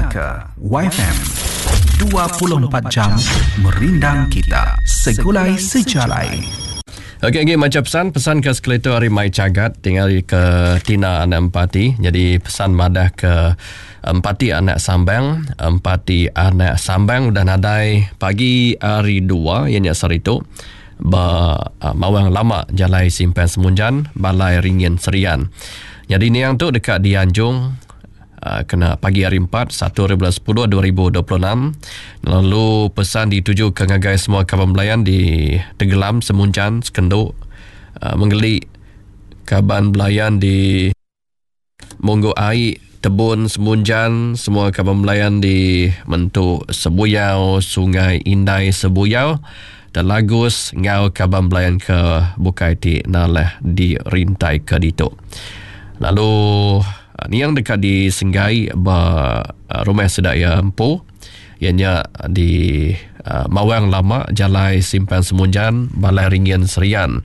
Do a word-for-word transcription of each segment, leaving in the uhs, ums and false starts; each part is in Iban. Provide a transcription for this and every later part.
Didingaka Waifm dua puluh empat jam merindang kita segulai sejalai. Okey, lagi macam pesan, pesan ke sekali tu hari Mai Cagat tinggal ke Tina anak Empati. Jadi pesan madah ke Empati anak Sambang, Empati anak Sambang udah nadai pagi hari dua ianya sehari tu ba Mawang Lama Jalai Simpan Semunjan Balai Ringin Serian. Jadi niang tu dekat di Anjung kena pagi hari empat, satu hari bulan sepuluh, dua ribu dua puluh enam. Lalu pesan dituju ke ngagai semua kaban belayan di Tegelam, Semunjan, Sekenduk, Menggeli, kaban belayan di Monggo Ai, Tebun, Semunjan, semua kaban belayan di Mentu Sebuyau, Sungai Indai Sebuyau, Telagus, ngau kaban belayan ke bukai ti nalah di rintai ke ditu. Lalu ni yang dekat di Senggai ba rumah sedaya empu ianya di uh, Mawang Lama Jalai Simpan Semunjan Balai Ringin Serian.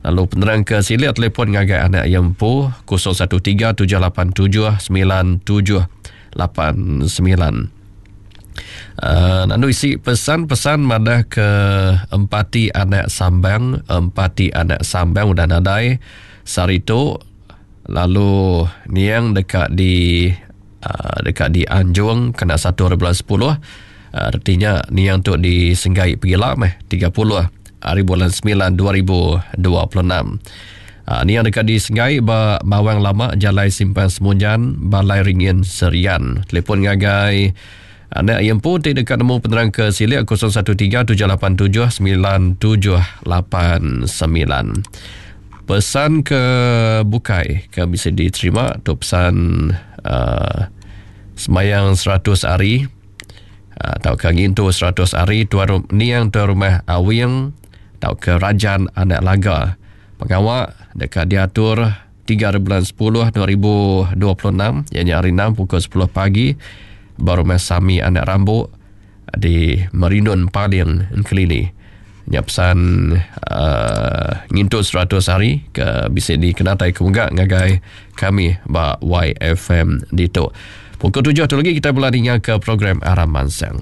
Lalu penerang ke silik telefon ngagai anak yang empu kosong satu tiga tujuh lapan tujuh sembilan tujuh lapan sembilan. Uh, lalu isi pesan-pesan madah ke Empati anak Sambang, Empati anak Sambang udah nadai sehari tu. Lalu niang dekat di uh, dekat di Anjung kena satu hari bulan sepuluh. Uh, artinya niang tu di Senggai pergi lah meh tiga puluh hari bulan sembilan dua ribu dua puluh enam. Uh, niang dekat di Senggai ba Mawang Lama Jalai Simpan Semunjan Balai Ringin Serian. Telefon ngagai anak yang pun tidak dekat nemu penerang ke silik kosong satu tiga tujuh lapan tujuh sembilan tujuh lapan sembilan. Pesan ke bukai ke bisa diterima tu pesan uh, semayang seratus hari atau uh, ke ngintu seratus hari tuan rum, niang tuan rumah Awing atau ke Rajan Anak Laga. Pengawak dekat diatur tiga bulan sepuluh dua ribu dua puluh enam iaitu hari enam pukul sepuluh pagi baru rumah Sami Anak Rambuk di Merindun Paling Engkelili. Nya pesan uh, ngintut seratus hari ke bisa dikenatai ke munggah ngagai kami ba Y F M ditu. Pukul tujuh tu lagi kita boleh dengar ke program Aram Mansang.